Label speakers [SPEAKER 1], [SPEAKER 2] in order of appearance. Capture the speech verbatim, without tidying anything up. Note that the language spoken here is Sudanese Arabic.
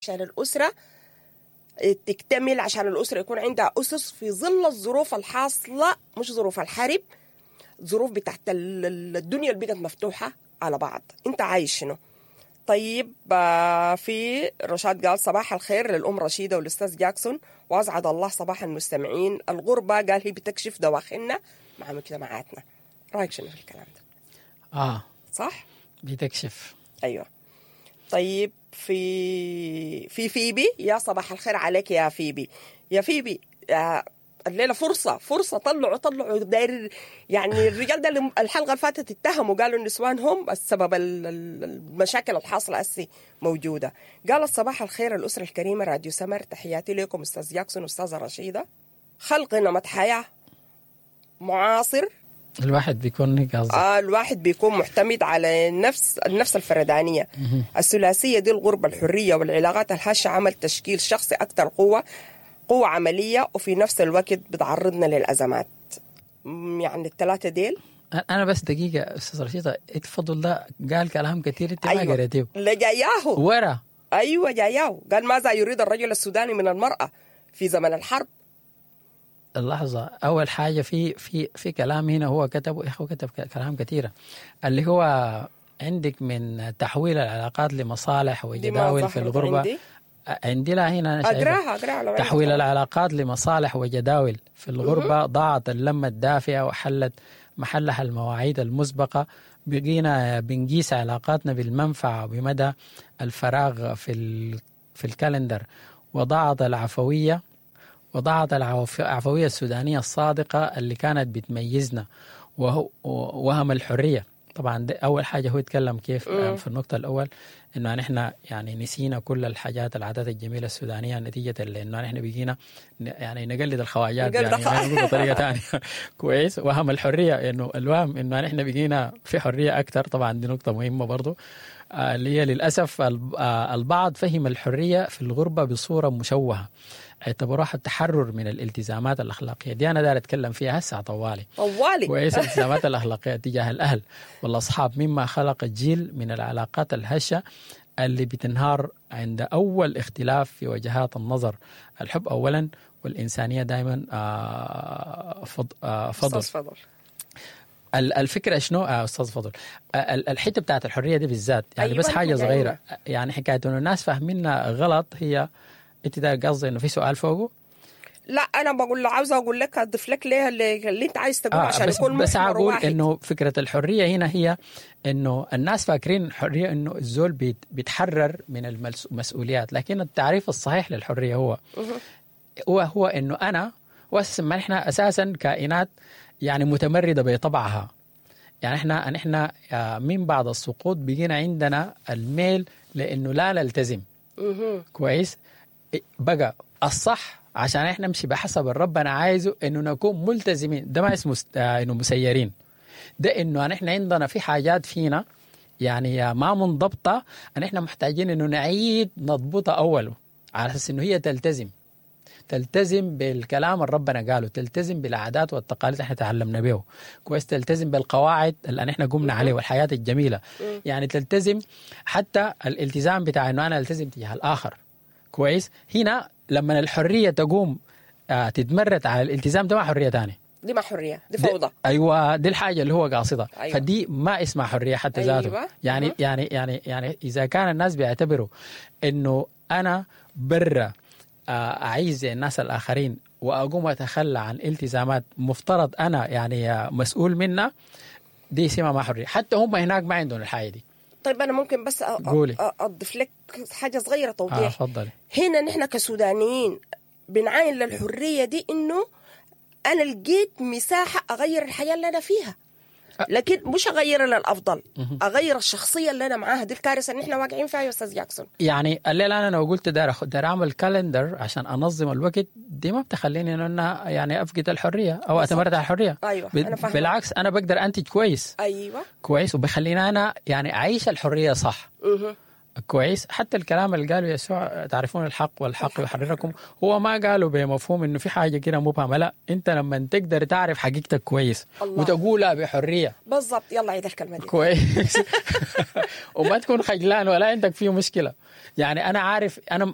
[SPEAKER 1] عشان الاسرة تكتمل، عشان الاسرة يكون عندها اسس في ظل الظروف الحاصلة، مش ظروف الحرب، ظروف بتاعت الدنيا اللي بقت مفتوحة على بعض. انت عايش شنو؟ طيب في رشاد قال صباح الخير للأم رشيدة والأستاذ جاكسون، وأسعد الله صباح المستمعين. الغربة قال هي بتكشف دواخلنا مع مجتمعاتنا. رأيك شنو في الكلام ده؟
[SPEAKER 2] آه
[SPEAKER 1] صح؟
[SPEAKER 2] بتكشف.
[SPEAKER 1] أيوة. طيب في في فيبي، يا صباح الخير عليك يا فيبي. يا فيبي آه الليلة فرصة فرصة، طلعوا طلعوا داير يعني الرجال ده الحلقة اللي فاتت اتهموا قالوا النسوان هم السبب المشاكل الحاصلة هسي موجودة. قال الصباح الخير الاسرة الكريمة راديو سمر، تحياتي لكم استاذ جاكسون واستاذه رشيده. خلق نمط حياة معاصر،
[SPEAKER 2] الواحد بيكون قصدي
[SPEAKER 1] آه الواحد بيكون معتمد على النفس النفس الفردانية. الثلاثية دي الغربة الحرية والعلاقات الهشه عمل تشكيل شخصي اكثر قوة قوة عملية، وفي نفس الوقت بتعرضنا للأزمات. يعني الثلاثة ديل.
[SPEAKER 2] أنا بس دقيقة أستاذ رشيدة، اتفضل ده قال كلام كثير أنت ما قريتيه.
[SPEAKER 1] لا جاياه
[SPEAKER 2] ورا.
[SPEAKER 1] أيوة جاياه. قال ماذا يريد الرجل السوداني من المرأة في زمن الحرب؟
[SPEAKER 2] اللحظة، أول حاجة في في في كلام هنا هو كتبه، يا أخو كتب كلام كثيرة، اللي هو عندك من تحويل العلاقات لمصالح وجداول في الغربة. عندي؟ عندي لا هنا أنا
[SPEAKER 1] أقراها أقراها.
[SPEAKER 2] تحويل العلاقات لمصالح وجداول في الغربة ضاعت اللمة الدافئة وحلت محلها المواعيد المسبقة. بقينا بنقيس علاقاتنا بالمنفعة وبمدى الفراغ في في الكالندر، وضاعت العفوية وضاعت العفوية السودانية الصادقة اللي كانت بتميزنا، وهو وهم الحرية. طبعا ده أول حاجة هو يتكلم كيف مم. في النقطة الأول إنه نحن يعني نسينا كل الحاجات العادات الجميلة السودانية نتيجة لأنه نحن بقينا يعني نقلد الخواجات يعني نقول بطريقة ثانية. كويس. وهم الحرية، إنه الوهم إنه نحن بقينا في حرية أكثر. طبعا دي نقطة مهمة برضو، اللي هي للأسف البعض فهم الحرية في الغربة بصورة مشوهة، اعتبروها التحرر من الالتزامات الأخلاقية. دي أنا دار أتكلم فيها هسه طوالي
[SPEAKER 1] طوالي.
[SPEAKER 2] كويس. الالتزامات الأخلاقية تجاه الأهل والأصحاب، مما خلق جيل من العلاقات الهشة اللي بتنهار عند أول اختلاف في وجهات النظر. الحب أولا والإنسانية دائما فضل.
[SPEAKER 1] فضل.
[SPEAKER 2] الفكرة شنو آه أستاذ فضل؟ الحتة بتاعت الحرية دي بالذات يعني، أيوة بس حاجة صغيرة يعني، حكاية إنه الناس فاهميننا غلط. هي أنت ده قصدي إنه في سؤال فوقه؟
[SPEAKER 1] لا أنا بقول له عاوزة أقول لك أضيف لك ليه اللي, اللي أنت عايز تقوله آه عشان
[SPEAKER 2] بس
[SPEAKER 1] يكون
[SPEAKER 2] بس أقول إنه فكرة الحرية هنا هي إنه الناس فاكرين الحرية إنه الزول بيت بيتحرر من المسؤوليات، لكن التعريف الصحيح للحرية هو هو هو إنه أنا وأساسا ما نحن أساسا كائنات يعني متمردة بطبعها. يعني احنا نحن من بعد السقوط بقينا عندنا الميل لانه لا نلتزم. كويس. بقى الصح عشان احنا نمشي بحسب الرب انا عايزه انه نكون ملتزمين. ده ما اسمه انه مسيرين، ده انه نحن عندنا في حاجات فينا يعني ما منضبطة، ان احنا محتاجين انه نعيد نضبطها اوله على اساس انه هي تلتزم، تلتزم بالكلام اللي ربنا قاله، تلتزم بالعادات والتقاليد اللي احنا تعلمنا به. كويس. تلتزم بالقواعد اللي احنا قمنا عليه والحياة الجميلة. يعني تلتزم حتى الالتزام بتاع انه انا التزم تجاه الاخر. كويس. هنا لما الحرية تقوم آه تتمرد على الالتزام، ده ما حرية تانية،
[SPEAKER 1] دي ما حرية، دي فوضى.
[SPEAKER 2] دي ايوه، دي الحاجة اللي هو قاصدها.
[SPEAKER 1] أيوة.
[SPEAKER 2] فدي ما اسمها حرية حتى ذاته.
[SPEAKER 1] أيوة.
[SPEAKER 2] يعني يعني يعني يعني اذا كان الناس بيعتبروا انه انا برا أعيش زي الناس الآخرين وأقوم أتخلى عن التزامات مفترض أنا يعني مسؤول منها، دي اسمها ما حرية. حتى هم هناك ما عندهم الحاجة دي.
[SPEAKER 1] طيب أنا ممكن بس أضيف لك حاجة صغيرة توضيح.
[SPEAKER 2] آه فضلي.
[SPEAKER 1] هنا نحن كسودانيين بنعاين للحرية دي إنه أنا لقيت مساحة أغير الحياة اللي أنا فيها، لكن مش أغير للأفضل، أغير الشخصية اللي أنا معاها. دي الكارثة اللي إحنا واقعين فيها يا أستاذ جاكسون.
[SPEAKER 2] يعني الليلة أنا لو قلت دار دار أعمل calendar عشان أنظم الوقت، دي ما بتخليني إن أنا يعني أفقد الحرية أو أتمرد على الحرية.
[SPEAKER 1] أيوة. أنا فاهمة.
[SPEAKER 2] بالعكس أنا بقدر أنتج كويس.
[SPEAKER 1] أيوة.
[SPEAKER 2] كويس، وبخليني أنا يعني أعيش الحرية صح.
[SPEAKER 1] مه.
[SPEAKER 2] كويس. حتى الكلام اللي قاله يسوع تعرفون الحق والحق يحرركم، هو ما قاله بمفهوم انه في حاجة كده مبهمة، لا، انت لما تقدر تعرف حقيقتك كويس
[SPEAKER 1] الله.
[SPEAKER 2] وتقولها بحرية.
[SPEAKER 1] بالضبط. يلا عيد الكلمة دي
[SPEAKER 2] كويس. وما تكون خجلان ولا عندك فيه مشكلة. يعني انا عارف انا